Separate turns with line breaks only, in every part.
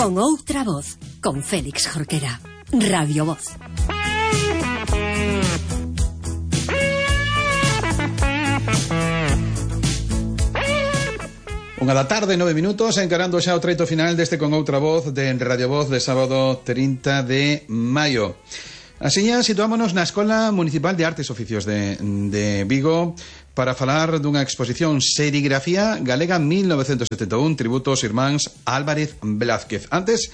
Con outra voz, con Félix Jorquera. Radio Voz.
Unha da tarde, 9 minutos, encarando xa o treito final deste Con outra voz de Radio Voz de sábado 30 de maio. Asiña, situámonos na Escola Municipal de Artes e Oficios de Vigo para falar dunha exposición Serigrafía Galega 1971, tributo aos irmáns Álvarez Blázquez. Antes,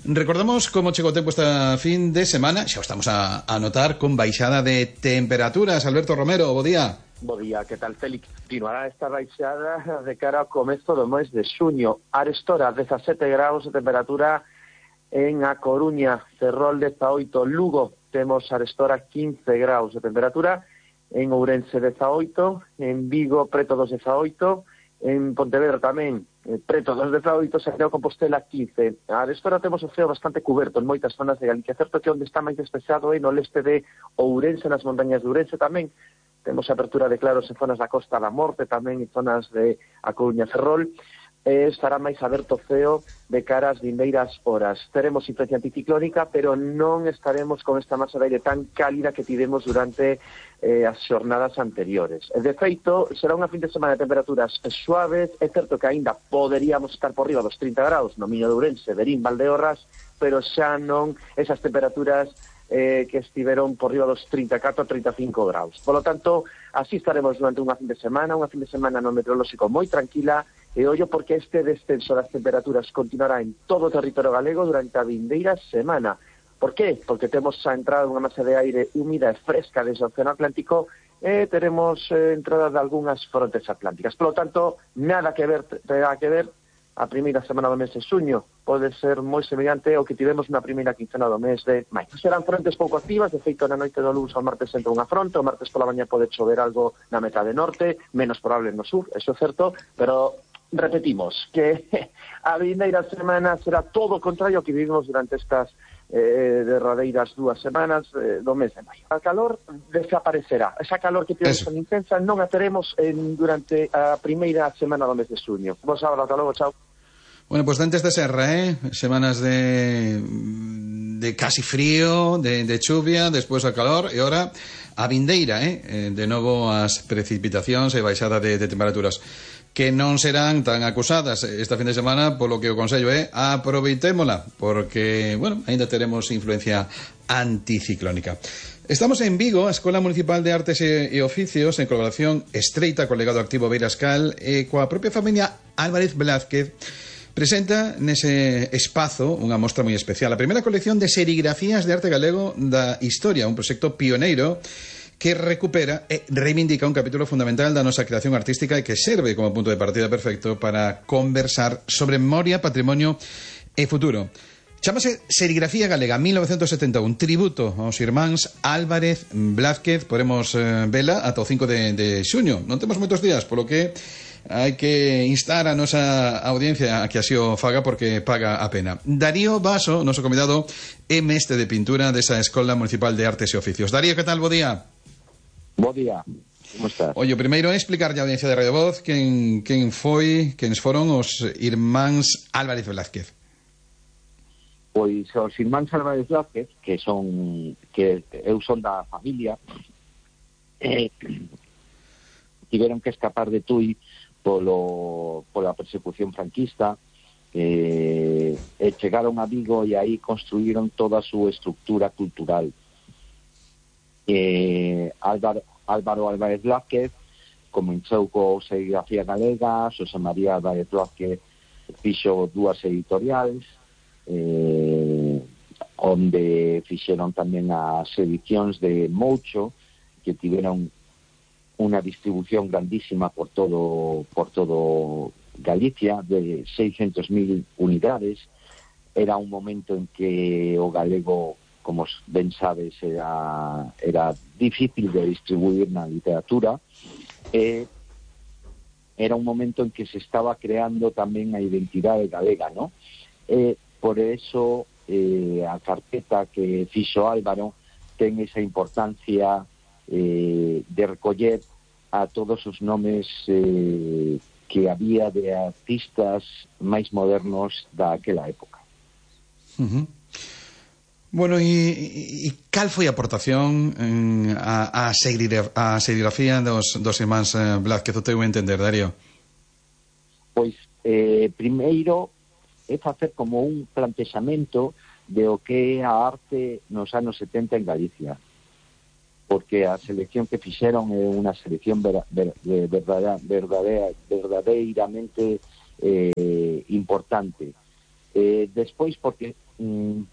recordamos como chegou o tempo esta fin de semana. Xa o estamos a notar con baixada de temperaturas. Alberto Romero, bo día.
Bo día, que tal, Félix? Continuará esta baixada de cara ao comezo do mes de xuño. Arestora, 17 graus de temperatura en A Coruña, Ferrol 18, Lugo temos arestora 15 graus de temperatura, en Ourense 18, en Vigo preto dos 18, en Pontevedra tamén preto dos 18, Santiago de Compostela 15. Arestora temos o ceo bastante cuberto en moitas zonas de Galicia, certo que onde está máis despexado é no leste de Ourense, nas montañas de Ourense tamén. Temos apertura de claros en zonas da Costa da Morte tamén e zonas de A Coruña, Ferrol. Estará máis aberto o ceo de cara ás vindeiras horas. Teremos influencia anticiclónica, pero non estaremos con esta masa de aire tan cálida que tivemos durante as xornadas anteriores. De feito, será unha fin de semana de temperaturas suaves. É certo que aínda poderíamos estar por riba dos 30 graus no Miño de Ourense, Verín, Valdeorras, pero xa non esas temperaturas que estiveron por riba dos 34 a 35 graus. Por lo tanto, así estaremos durante unha fin de semana no meteorolóxico moi tranquila, e ollo porque este descenso das temperaturas continuará en todo o territorio galego durante a vindeira semana. Por qué? Porque temos a entrada dunha masa de aire húmida e fresca desde o Océano Atlántico e teremos entrada de algunhas frontes atlánticas. Por lo tanto, nada que ver, a primeira semana do mes de xuño pode ser moi semellante ao que tivemos na primeira quincena do mes de maio. Serán frontes pouco activas, de feito na noite do luns ao martes entra unha fronte, o martes pola mañá pode chover algo na metade norte, menos probable no sur, eso é certo, pero repetimos que a vindeira semana será todo o contrario ao que vivimos durante estas derradeiras 2 semanas do mes de maio. A calor desaparecerá. Esa calor que tivemos tan intensa non a teremos durante a primeira semana do mes de xuño. Vos sábado, ata logo, chao.
Bueno, pues dentes de serra, semanas de casi frío, de chuvia, despois a calor, e ahora a vindeira, de novo as precipitacións e baixada de temperaturas, que non serán tan acusadas esta fin de semana, polo que o consello é aproveitémola, porque, bueno, ainda teremos influencia anticiclónica. Estamos en Vigo, a Escola Municipal de Artes e Oficios, en colaboración estreita co legado activo Beirascal e coa propia familia Álvarez Blázquez, presenta nese espazo unha mostra moi especial, a primeira colección de serigrafías de arte galego da historia, un proxecto pioneiro que recupera e reivindica un capítulo fundamental da nosa creación artística e que serve como punto de partida perfecto para conversar sobre memoria, patrimonio e futuro. Chámase Serigrafía Galega 1971, tributo aos irmáns Álvarez Blázquez. Podemos vela ata o 5 de xuño. Non temos moitos días, polo que hai que instar a nosa audiencia a que así o faga, porque paga a pena. Darío Baso, noso convidado, é mestre de pintura desa Escola Municipal de Artes e Oficios. Darío, que tal? Bo día.
Bo día, como estás?
Oye, o primeiro é explicarlle a audiencia de Radio Voz quen foron os irmáns Álvarez Blázquez.
Pois os irmáns Álvarez Blázquez, que eu son da familia, tiveron que escapar de Tui pola persecución franquista, e chegaron a Vigo e aí construíron toda a súa estructura cultural. Álvaro Álvarez Blázquez comenzou co Serigrafía Galega, Xosé María Álvarez Blázquez fixo 2 editoriales, onde fixeron tamén as edicións de Moucho, que tiveron unha distribución grandísima por todo Galicia, de 600.000 unidades. Era un momento en que o galego, como ben sabes, era difícil de distribuir na literatura, e era un momento en que se estaba creando tamén a identidade galega, ¿no? Por eso a carpeta que fixo Álvaro ten esa importancia de recoller a todos os nomes que había de artistas máis modernos daquela época.
Uh-huh. Bueno, e cal foi a aportación a serigrafía dos irmáns Blázquez, o teu entender, Darío?
Pois, primeiro, é facer como un plantexamento de o que é a arte nos anos 70 en Galicia. Porque a selección que fixeron é unha selección verdadeiramente importante. Despois, porque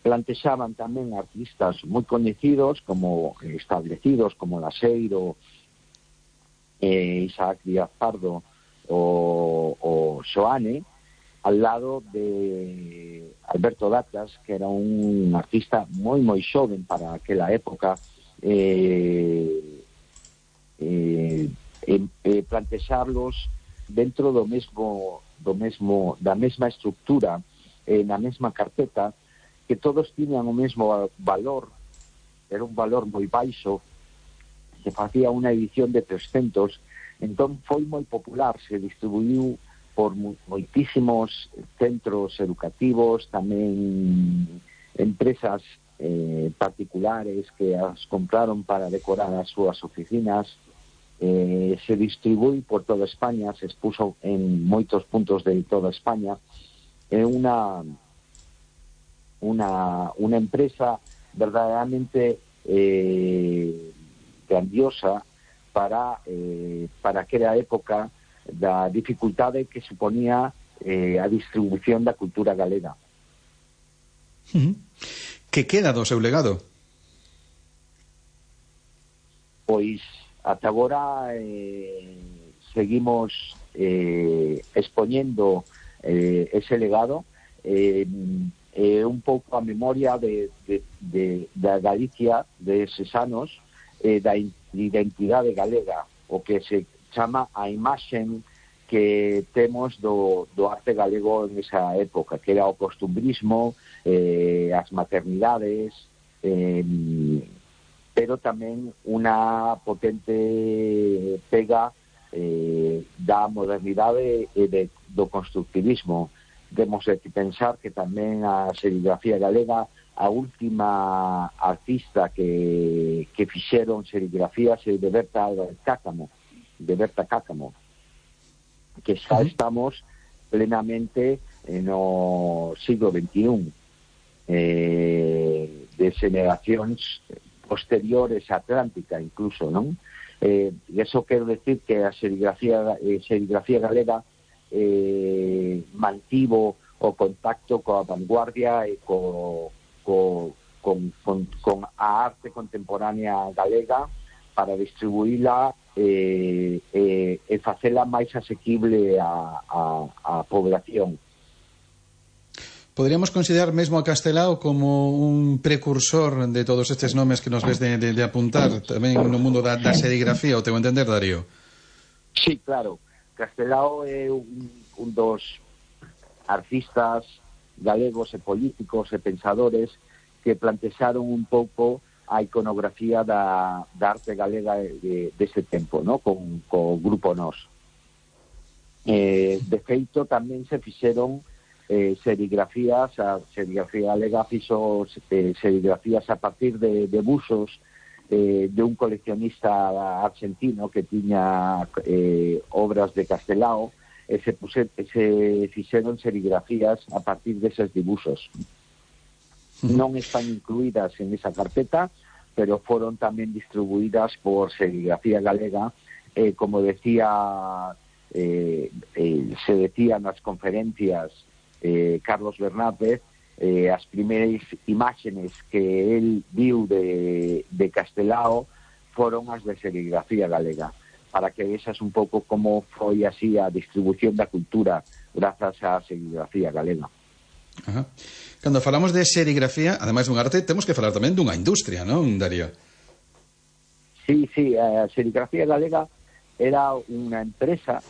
plantexaban tamén artistas moi coñecidos, como establecidos, como Laseiro, Isaac Díaz Pardo o Xoane, al lado de Alberto Datas, que era un artista moi xoven para aquela época, plantexarlos dentro da mesma estructura, na mesma carpeta, que todos tiñan o mesmo valor, era un valor moi baixo, se facía unha edición de 300, entón foi moi popular, se distribuiu por moitísimos centros educativos, tamén empresas particulares que as compraron para decorar as súas oficinas, se distribui por toda España, se expuso en moitos puntos de toda España. É unha empresa verdadeiramente grandiosa para aquela época da dificultade que suponía a distribución da cultura galega.
Que queda do seu legado?
Pois ata agora seguimos expoñendo ese legado, un pouco a memoria da Galicia de eses anos, da identidade galega, o que se chama a imaxen que temos do arte galego en esa época, que era o costumbrismo, as maternidades, pero tamén unha potente pega da modernidade e do constructivismo. Temos que pensar que tamén a serigrafía galega, a última artista que fixeron serigrafías é de Berta Cácamo, que xa estamos plenamente no siglo XXI, de xeneracións posteriores a Atlántica incluso, non? Eso quero decir que a serigrafía galega mantivo o contacto coa vanguardia e con a arte contemporánea galega para distribuíla e facela máis asequible a población.
Poderíamos considerar mesmo a Castelao como un precursor de todos estes nomes que nos ves de apuntar tamén no mundo da serigrafía, o teu entender, Darío?
Sí, claro. Castelao é un dos artistas galegos e políticos e pensadores que plantexaron un pouco a iconografía da arte galega dese tempo, ¿no? Con o Grupo Nós. De feito, tamén se fixeron serigrafías, a serigrafía galega fixo serigrafías a partir de buxos de un coleccionista argentino que tiña obras de Castelao, e se fixeron serigrafías a partir deses dibuxos. Non están incluídas en esa carpeta, pero foron tamén distribuídas por Serigrafía Galega, como decía, se decía nas conferencias Carlos Bernárdez, as primeiras imágenes que él viu de Castelao foron as de Serigrafía Galega, para que vexas un pouco como foi así a distribución da cultura grazas á serigrafía galega.
Ajá. Cando falamos de serigrafía, ademais dun arte, temos que falar tamén dunha industria, non, Darío?
Sí, a serigrafía galega era unha empresa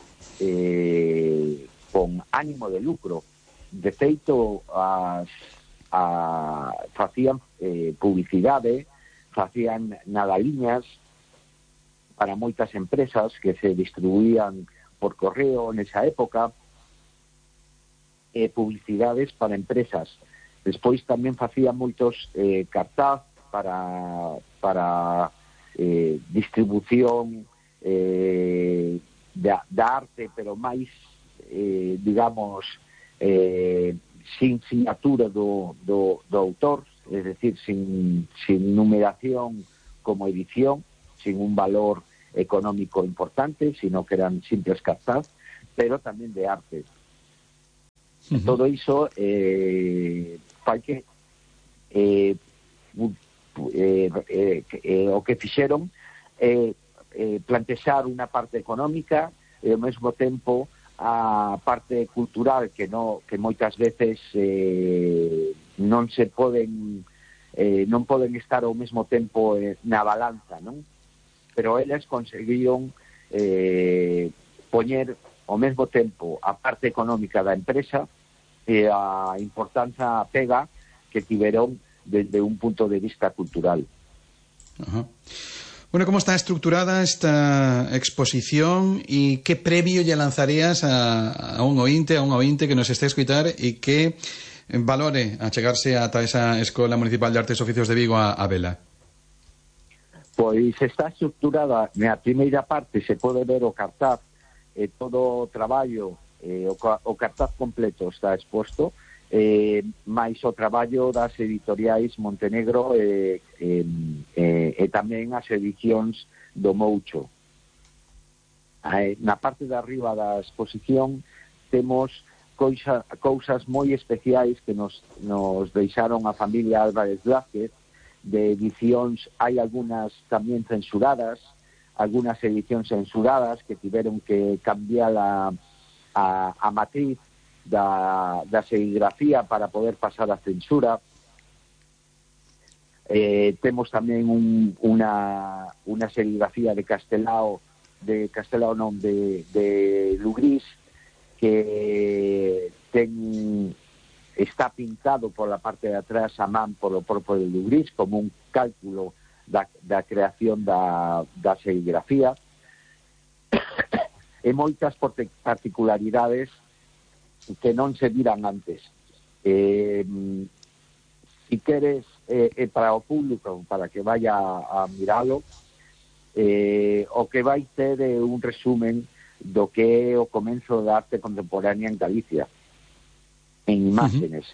con ánimo de lucro. De feito, facían publicidade, facían nadaliñas para moitas empresas que se distribuían por correo nesa época, publicidades para empresas Despois tamén facía moitos cartaz para distribución da arte, pero máis, digamos, sin sinatura do autor, es decir, sin numeración como edición, sin un valor económico importante, sino que eran simples cartaz, pero tamén de arte. Todo iso fai que o que fixeron plantexar unha parte económica e ao mesmo tempo a parte cultural que moitas veces non poden estar ao mesmo tempo na balanza, non? Pero eles conseguiron poñer ao mesmo tempo a parte económica da empresa e a importancia pega que tiveron desde un punto de vista cultural.
Ajá. Bueno, ¿cómo está estructurada esta exposición y qué previo lle lanzarías a un ointe que nos esté a escutar e que valore achegarse ata esa Escola Municipal de Artes e Oficios de Vigo a vela?
Pois está estructurada na primeira parte, se pode ver o cartaz, todo o traballo, o cartaz completo está exposto, máis o traballo das editoriais Montenegro e tamén as edicións do Moucho. Na parte de arriba da exposición temos cousas moi especiais que nos deixaron a familia Álvarez Blázquez, de edicións, hai algunhas tamén censuradas, algunhas edicións censuradas que tiveron que cambiar a matriz da serigrafía para poder pasar a censura. Temos tamén unha serigrafía de Lugrís, que está pintado por la parte de atrás a man polo propio de Lugrís, como un cálculo da creación da serigrafía. E moitas particularidades que non se viran antes. Si queres, para o público, para que vaya a miralo, o que vai ter un resumen do que é o comenzo da arte contemporánea en Galicia, en imágenes.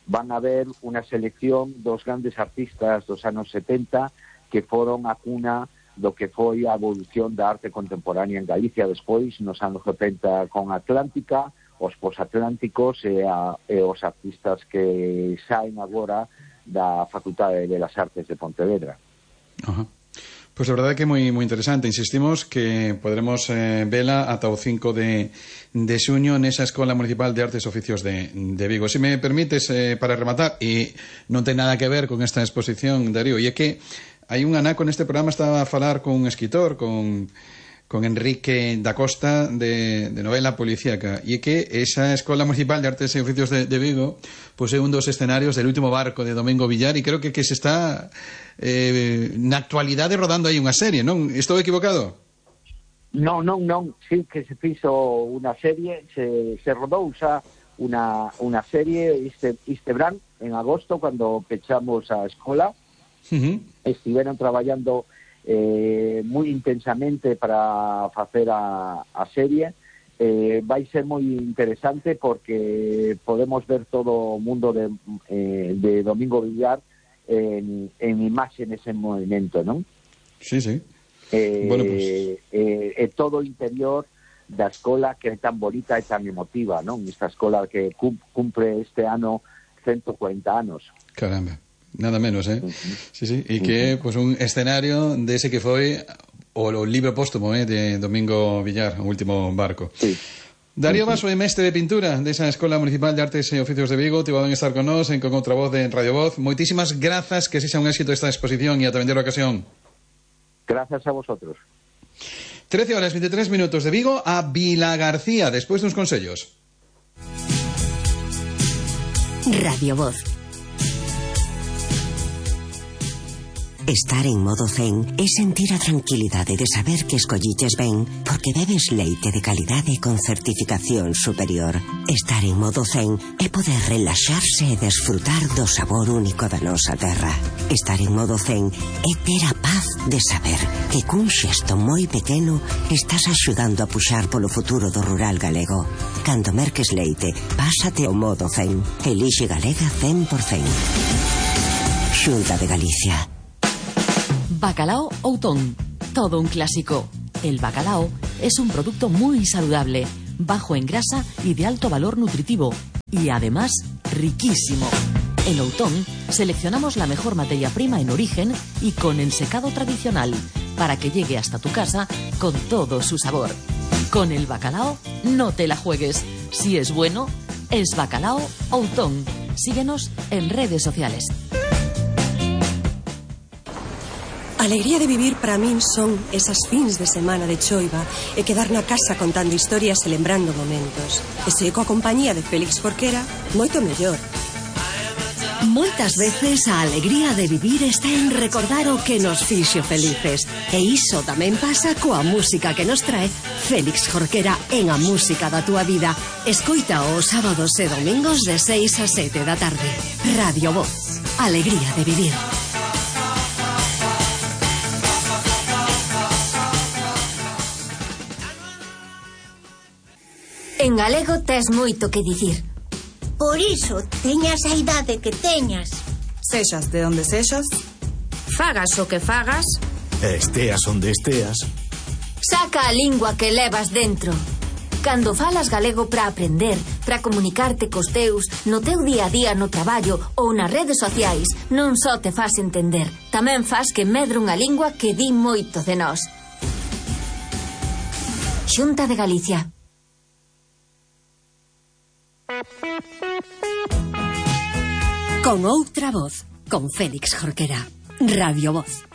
Van a ver unha selección dos grandes artistas dos anos 70 que foron a cuna do que foi a evolución da arte contemporánea en Galicia despois, nos anos 70 con Atlántica, os posatlánticos e os artistas que saen agora da Facultade de Belas Artes de Pontevedra.
Ajá. Pues a verdade que é moi interesante. Insistimos que podremos vela ata o 5 de xuño nesa Escola Municipal de Artes e Oficios de Vigo. Se me permites, para rematar, e non ten nada que ver con esta exposición, Darío, e é que hai un anaco neste programa, estaba a falar con un escritor, con Enrique da Costa, de novela policíaca, e é que esa Escola Municipal de Artes e Oficios de Vigo pois é un dos escenarios del último barco de Domingo Villar, e creo que se está na actualidade rodando aí unha serie, non? Estou equivocado?
Non, sí que se fixo unha serie, se rodou xa unha serie este verán, en agosto, cando pechamos a escola. Estiveron traballando moi intensamente para facer a serie. Vai ser moi interesante porque podemos ver todo o mundo de Domingo Villar en imágenes en movimento, non?
Sí. Bueno, pues
todo o interior da escola que é tan bonita e tan emotiva, non? Esta escola que cumpre este ano 140 anos.
Caramba, nada menos, Sí, e que é pues, un escenario dese que foi o libro póstumo de Domingo Villar, o último barco.
Sí.
Darío Vaso é mestre de pintura desa Escola Municipal de Artes e Oficios de Vigo. Te van a estar con nós en Con Outra Voz de Radio Voz. Moitísimas grazas, que sexa un éxito esta exposición e ata vender a ocasión.
Gracias a vosotros.
13:23 de Vigo a Vilagarcía, despois duns consellos.
Radio Voz.
Estar en modo zen é sentir a tranquilidade de saber que escolliches ben porque bebes leite de calidade con certificación superior. Estar en modo zen é poder relaxarse e desfrutar do sabor único da nosa terra. Estar en modo zen é ter a paz de saber que cun xesto moi pequeno estás axudando a puxar polo futuro do rural galego. Cando merques leite, pásate ao modo zen. Elixe Galega 100%. Xunta de Galicia.
Bacalao Outón, todo un clásico. El bacalao es un producto muy saludable, bajo en grasa y de alto valor nutritivo, y además riquísimo. En Outón seleccionamos la mejor materia prima en origen y con ensecado tradicional, para que llegue hasta tu casa con todo su sabor. Con el bacalao no te la juegues. Si es bueno, es Bacalao Outón. Síguenos en redes sociales.
A alegría de vivir para min son esas fins de semana de choiva e quedar na casa contando historias e lembrando momentos. E se coa compañía de Félix Jorquera, moito mellor.
Moitas veces a alegría de vivir está en recordar o que nos fixo felices. E iso tamén pasa coa música que nos trae Félix Jorquera en A Música da Túa Vida. Escoita os sábados e domingos de 6 a 7 da tarde. Radio Voz. Alegría de vivir.
En galego tes moito que dicir. Por iso, teñas a idade que teñas.
Sexas de onde sexas,
Fagas o que fagas,
esteas onde esteas,
saca a lingua que levas dentro. Cando falas galego para aprender, para comunicarte cos teus, no teu día a día no traballo ou nas redes sociais, non só te fas entender, tamén fas que medre unha lingua que di moito de nós. Xunta de Galicia.
Con outra voz, con Félix Jorquera. Radio Voz.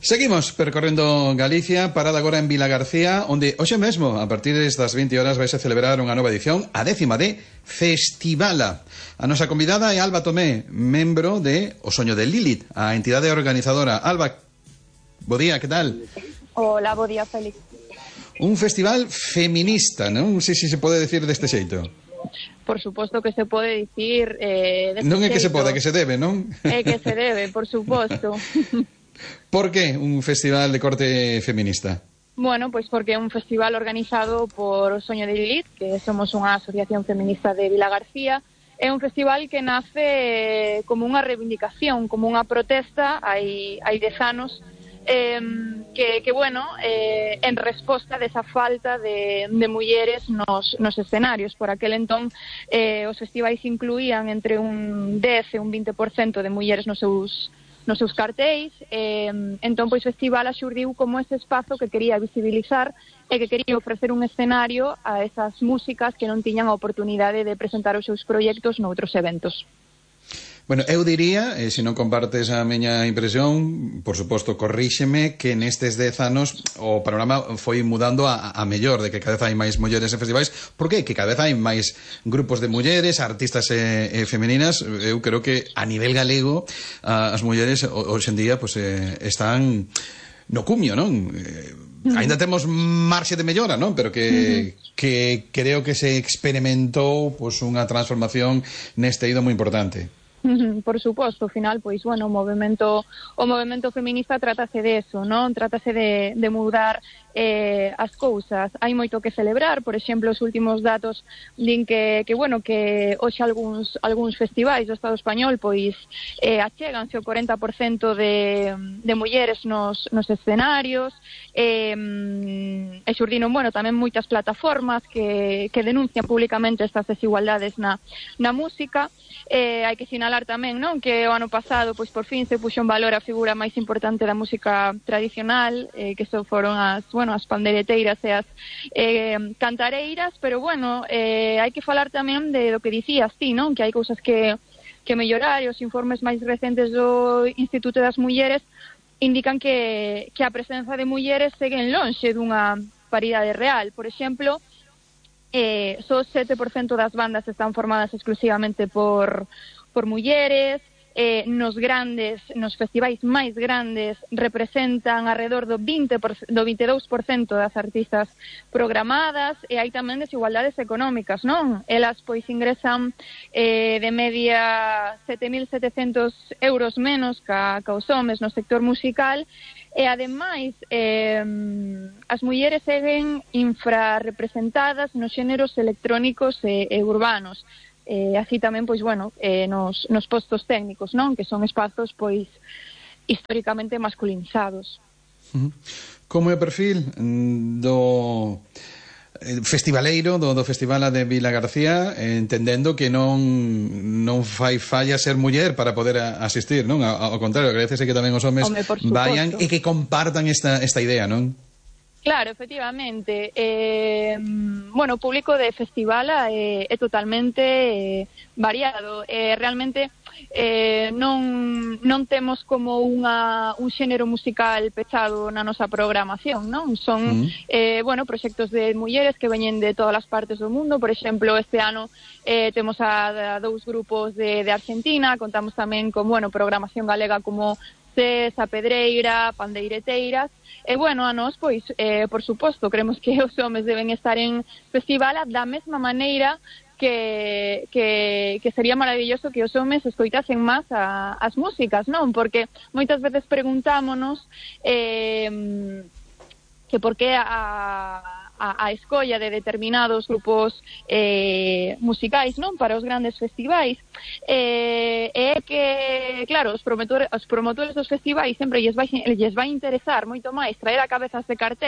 Seguimos percorrendo Galicia, parada agora en Vilagarcía, onde hoxe mesmo, a partir destas 20 horas, vais a celebrar unha nova edición, a 10ª de Festivala. A nosa convidada é Alba Tomé, membro de O Soño de Lilith, a entidade organizadora. Alba, bo día, que tal?
Hola, bo día, Félix.
Un festival feminista, non? Non sei se pode decir deste xeito.
Por suposto que se pode dicir
non é que se pode, que se debe, non?
É que se debe, por suposto.
Por que un festival de corte feminista?
Bueno, pois porque é un festival organizado por O Soño de Lilith, que somos unha asociación feminista de Vilagarcía. É un festival que nace como unha reivindicación, como unha protesta hai 10 anos, que bueno, en resposta desa falta de mulleres nos escenarios. Por aquel entón, os festivais incluían entre un 10 e un 20% de mulleres nos seus cartéis. Entón, pois, o festival axurdiu como ese espazo que quería visibilizar e que quería ofrecer un escenario a esas músicas que non tiñan a oportunidade de presentar os seus proxectos noutros eventos.
Bueno, eu diría, se non compartes a miña impresión, por suposto, corríxeme, que nestes 10 anos o panorama foi mudando a mellor, de que cada vez hai máis mulleres en festivais. Por que? Que cada vez hai máis grupos de mulleres, artistas femeninas. Eu creo que a nivel galego as mulleres hoxe en día pues, están no cumio, non? Ainda temos marxe de mellora, non? Pero que creo que se experimentou pues, unha transformación neste eido moi importante.
Por suposto, ao final, pois, bueno, o movemento feminista trátase de eso, non? Trátase de mudar as cousas. Hai moito que celebrar, por exemplo, os últimos datos din que bueno, que hoxe algúns festivais do Estado español, pois, achéganse o 40% de mulleres nos escenarios, e xurdiron, bueno, tamén moitas plataformas que denuncian públicamente estas desigualdades na música. Hai que sinalar tamén, non, que o ano pasado, pois, por fin se puxo en valor a figura máis importante da música tradicional, que foron as pandeireteiras e as cantareiras, pero bueno, hai que falar tamén de do que dicías ti, non, que hai cousas que mellorar, e os informes máis recentes do Instituto das Mulleres indican que a presenza de mulleres seguen lonxe dunha paridade real. Por exemplo, só 7% das bandas están formadas exclusivamente por mulleres. Nos festivais máis grandes representan alrededor do 22% das artistas programadas, e hai tamén desigualdades económicas, non? Elas pois ingresan de media 7.700 euros menos ca os homes no sector musical, e ademais as mulleres seguen infrarrepresentadas nos xéneros electrónicos e urbanos. Así tamén, pois, bueno, nos postos técnicos, non? Que son espazos, pois, históricamente masculinizados.
Como é o perfil do festivaleiro, do Festival de Vilagarcía, entendendo que non fai falla ser muller para poder asistir, non? Ao contrario, agradecese que tamén os homes vayan e que compartan esta idea, non?
Claro, efectivamente. Bueno, o público de festival é totalmente variado. Realmente non temos como un xénero musical pechado na nosa programación, non? Son, bueno, proxectos de mulleres que veñen de todas as partes do mundo. Por exemplo, este ano temos a dous grupos de Argentina, contamos tamén con, bueno, programación galega como a Pedreira, Pandeireteiras, e bueno, a nós, pois, por suposto, creemos que os homes deben estar en festival da mesma maneira que sería maravilloso que os homes escoitasen máis as músicas, non? Porque moitas veces preguntámonos que por que a escolla de determinados grupos musicais, non, para os grandes festivais, é que, claro, os promotores dos festivais sempre lles vai interesar moito máis traer a cabezas de cartel